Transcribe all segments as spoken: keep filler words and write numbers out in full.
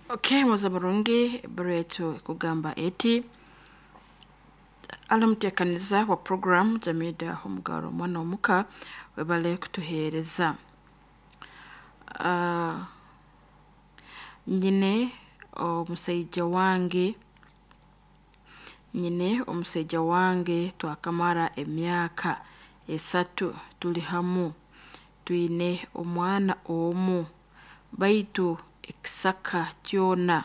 Okay, muza burungi ebbaruwa ekugamba eti alamuteekaniza wa program Jamida Omugaro omwana omuka webale kutuheereza. Uh, nyine omusaija wange nyine omusaija wange twakamara emyaka esatu tuli hamu twine omwana omu baitu ekisaka kyona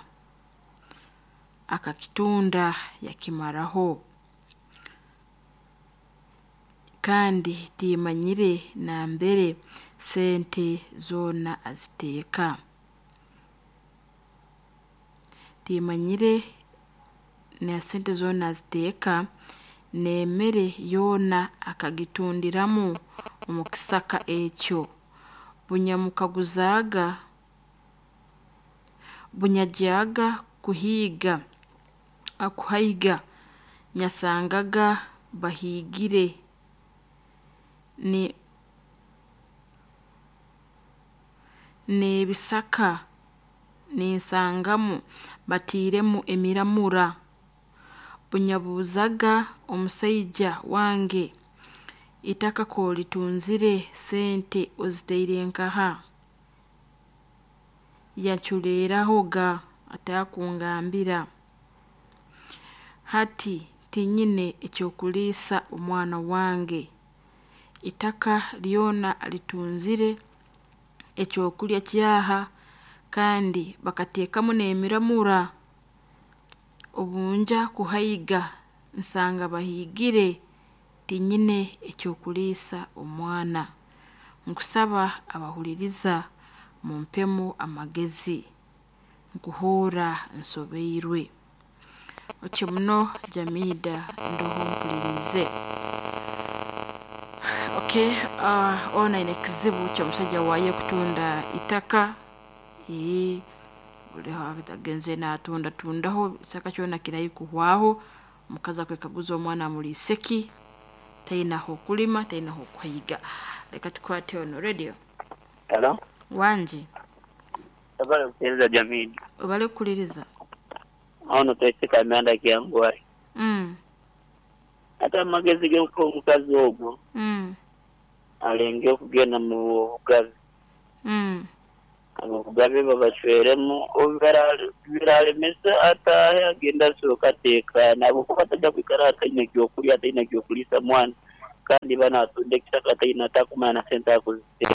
akakitunda yakimaraho kandi timanyire nambere sente zoona aziteeka timanyire na sente zoona aziteeka n'emere yoona akagitundiramu omu kisaka ekyo bunyamukaguzaaga bunyagyaga kuhiiga akuhaiga nyasangaga bahiigire ni n'ebisaka ninsangamu batiiremu emiramura bunyabuuzaga omusaija wange itaka k'olitunzire sente ozitaire nkaha yaculeerahoga atakungambira hati tinyine eky'okuliisa omwana wange itaka lyona alitunzire ekyokurya kyaha kandi bakateekamu n'emiramura obunja kuhaiga nsanga bahiigire tinyine ekyokuliisa omwana nkusaba abahuliriza mumpemu amagezi nkuhuura nsobeirwe otyo muno Jamida ndoho mpuliriize. Okay, uh, ono aine ekizibu ky'omusajja waaye kutunda itaka ee buli agenze natundatundaho ekisaka kyona kirahi kuhwaho omukazi akwekaguza omwana amuliise ki taine ah'okulima taine ah'okuhaiga leka tukwate ono radio Hello? wangi Habari kusikiliza jamii. obale kukuliriza Ono twesika amanda kyangwai. mm. Ate amagezi g'okuha omukazi ogwo Mm. alenge okugenda mu bugabi. Mm. Obugabi babacweremu obiralemesa ataahe agenda asooka ateekaana habwokuba atajja kwikara ataine ekyokurya ataine ekyokuliisa mwana kandi bana atunda ekisaka ataine atakumanya na sente akuziteeka.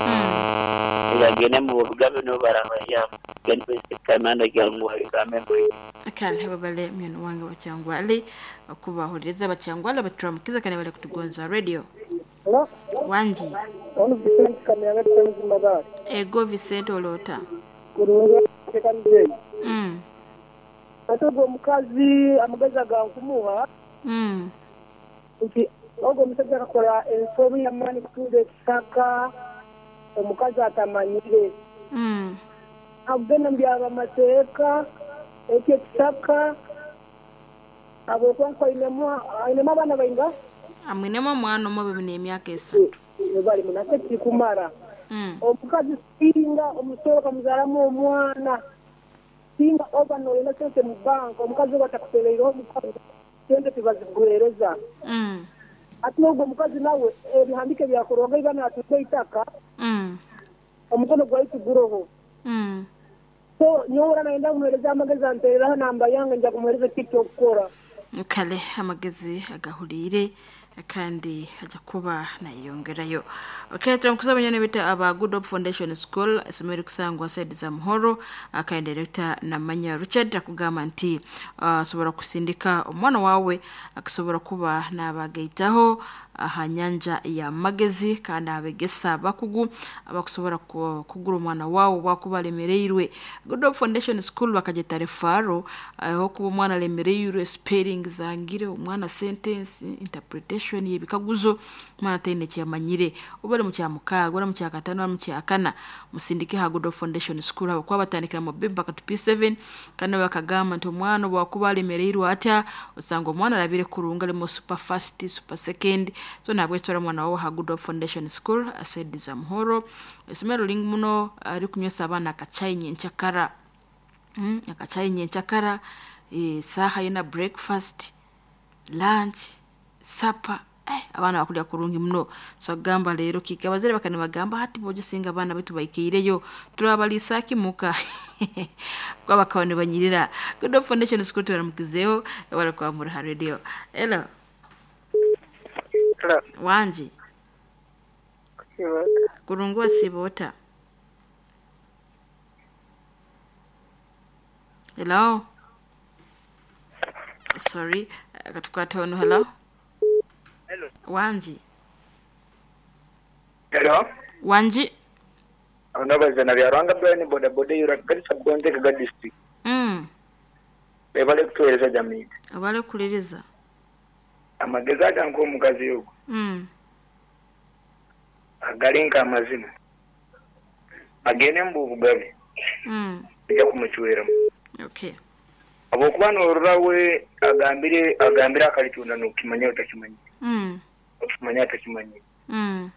Mm. Agende mu bugabi nibo barabayamba. Twesika amanda kyangwai kamembe. Kale babale myano wange bakyangwale okubahuliriza bakyangwale baturamukiza kandi bale kutugonza radio Hello? wangi Ono Vicente Kamyanga Twenzi Magari. ego Vicente oloota Kurunga tekanze. mm. Ate ogwo omukazi amagezi agankumuha Mm. nti ogwo omusajja akakora ensobi y'amaani kutunda ekisaka omukazi atamanyire. Mm. Akugenda mu byaba mateeka ekyo ekisaka habwokuba nko ainemu ainemu abaana bainga amwinemu omwana omu bibina emyaka esatu bali munate kikumara. mm. Omukazi singa omusoro kamuzaalamu omwana singa oba noyina sente mu banka omukazi oba atakutereireho omukazi sente tibaziguheereza Mm. ate n'ogwo omukazi nawe ebihandike byakorwaga iba natunda eitaka Mm. omukono gwaitu guroho Mm. so nyowe nayenda kumuheereza amagezi antereraho namba yange nja kumuheereza ki ekyokukora kale amagezi agahuliire kandi ajja kuba nayeyongerayo okay turamukuza abanyana bita aba Good Hope Foundation School essomero erikusangwa side za Muhoro kandi director Namanya Richard akugamba nti asobola uh, kusindika omwana wawe akusobola kuba n'abagaitaho aha nyanja ya magezi kandi abegesa abakugu abakusobola kugura omwana wawe bwakuba alemereirwe. Good Hope Foundation School bakageta refaro aho kuba omwana alemereirwe spelling zangire omwana sentence interpretation y'ebikaguzo omwana taine kyamanyire oba ali mu kyamukaaga oba mu kyakataano oba mu kyakana musindike ha Good Hope Foundation School abo kuba batandikira mu B mpaka to P seven kandi bakagamba nti omwana bwakuba alemereirwe atya osanga omwana alabire kurunga alimu super fast super second So nabwetora mwana wawe ha Good Hope Foundation School asedi za Muhoro, isomero lingi muno rikunywesa abaana akachai nyenchakara. Mm, akachai nyenchakara, e, saha yina breakfast, lunch, supper. Eh, abaana bakulya kurungi muno. So agamba leero kika abazire bakane bagamba hati bogisinga abaana baitu baikeireyo turabaliisa kimuka kuba bakaba nibanyirira. Good Hope Foundation School tubaramukizeho barakuba muri ha radio. Hello. Hello. Wanji. Kurungu wasibota. Hello. Sorry, katukwata ono. Hello. Hello. Wanji. Hello. Wanji. Onabazana bya Rwanga Brian boda boda yura Garissa Gonze Kaga district. Mm. Bebale kutuweereza jamii. Abale kuliriza. Amagezi aganka omukazi ogwo. Mm. Agali nk'amazima. Agende mu bugabe. Mm. Bijja kumucweramu. Okay. Habwokuba noorora we agambire agambire akalitunda n'okimanya otakimanya. Mm. Okimanya atakimanya. Mm.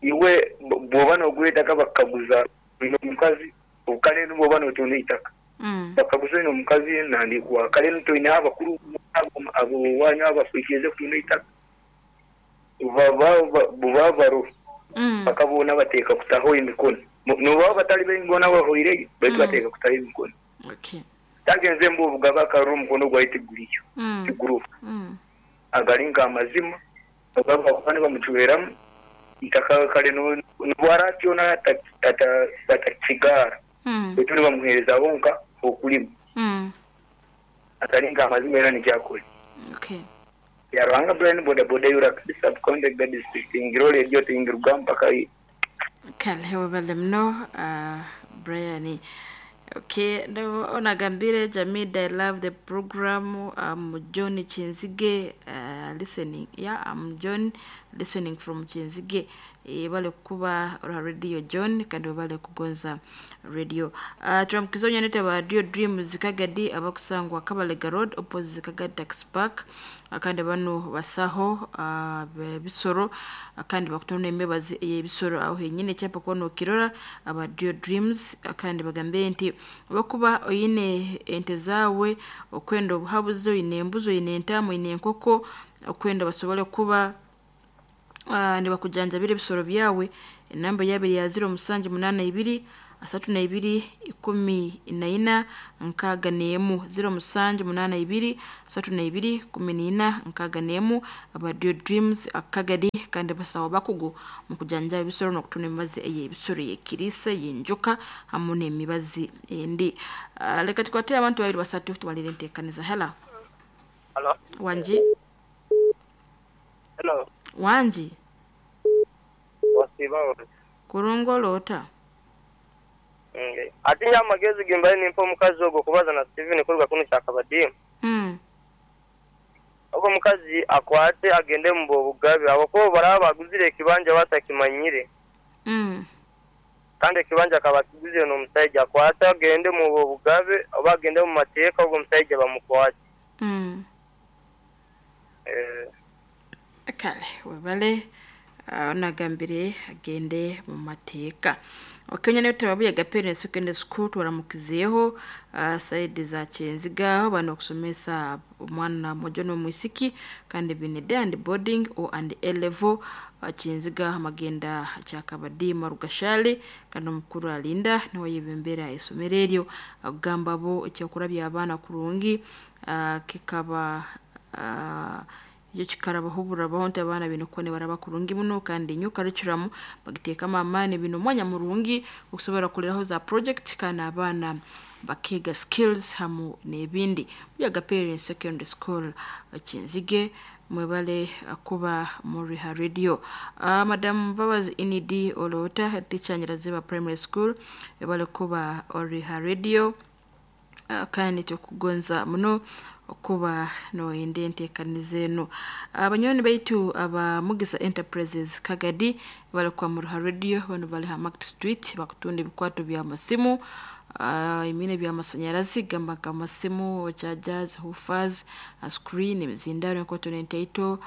Iwe bw'oba n'ogura ettaka bakaguza olina omukazi kale bw'oba n'otunda eitaka. Mm. Bakaguza olina omukazi nandikuwa kale toine abakuru abo wanyu abakwikirize kutunda eitaka. Buba baro Mm. bakabona bateeka kutaho emikono. Noba batali baingona bahoireyo baitu Mm. bateeka kutaho emikono. Okay. Tagenze mbu obugaba akarura omukono gwaye tiguriyo Mm. tigurufa. Mm. Agali nk'amazima bagaba bakuba nibamucweramu itaka kale nobwaratyona atakigaara Mm. baitu nibamuheereza bonka okulima. Mm. Agali nk'amazima era nikyakora. Okay. Ya Rwanga Brian boda boda yura kabisa Bukonde Kaga district ingiro radio tingiruga mpaka Kale webale muno uh, Brian. Okay, onagambire Jamida, I love the program. I'm John Chinzige uh, listening. Yeah, I'm John listening from Chinzige. E, bale kuba ra radio John kandi bale kugonza radio. Uh, turamukizonya nete ba Radio Dreams Kagadi abakusangwa Kabalega Road opposite Kagadi Tax Park. Akandi bano basaho uh, bisoro akandi bakutona embebazi ey'ebisoro aho henyine kyapa kuba nokirora aba Radio Dreams akandi bagambe nti bakuba oyine ente zaawe okwenda obuhabuzi oyine embuzi oyine entaama oyine enkoko okwenda basobole kuba uh, nibakujanjabira ebisoro byawe. Enamba yabiri ya ziro musanju munana ibiri asatu na ibiri ikumi na ina nkaaga n'emu ziro musanju munana ibiri asatu na ibiri kumi n'ina nkaaga n'emu aba Radio Dreams akagadi kandi basawo bakugu mu kujanjaba ebisoro n'okutunda emibazi ey'ebisoro y'ekiriisa y'enjoka hamu n'emibazi endi. Uh, leka tukwate abantu babiri basatu tubalire enteekaniza. Hello. Hello. Wanji. Hello. Wanji. Wasiba. Kurungoloota. Ati nya amagezi gimbaye nimpa omukazi ogwo kubaza na Steven kuruga kuno kyakabadimu. Mm. Ogwo omukazi akwate agende mu bugabe abakubo baraba baguzire ekibanja batakimanyire. Mm. Kandi ekibanja akaba akiguzire n'omusajja akwate agende mu bugabe oba agende mu mateeka ogwo omusajja bamukwate. Mm. Eh, Kale webale uh, onagambire agende mu mateeka. Okenya ne tababuya Parents Secondary School twaramukizeeho uh, saidi za Kyenziga aho bano okusomesa omwana mwojo n'omwisiki kandi bine day and boarding o and A level uh, Kyenziga amagenda kyakabadiima Rugashali kandi omukuru alinda niwe yebembera esomero eryo akugamba bo ekyokurabya abaana kurungi uh, kikaba uh, ekyo kikarabaho burabaho nti abaana bino kuba nibaraba kurungi muno kandi nyo curriculum bagiteekamu amaani bino omwanya murungi okusobora kuleraho za project kandi abaana bakeega skills hamu n'ebindi. Buyaga Parents Secondary School Kinzige mwebale kuba muri ha radio. Uh, Madam Mbabazi Inidi Olota teacher Nyiraziba Primary School ebale kuba ori ha radio. Uh, kandi tukugonza muno okuba noyenda enteekaniza eno. Abanywani baitu aba Mugisa Enterprises Kagadi bali kwa Muruha Radio, bano bali ha Market Street bakutunda ebikwato bya masimu uh, emine bya masanyarazi gamba nka masimu chargers, hoofers, screen, emizindaro enkoto n'entaito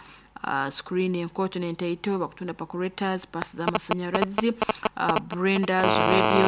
uh, screen enkooto n'entaito, bakutunda percolators, paasi z'amasanyarazi, uh, blenders, radios.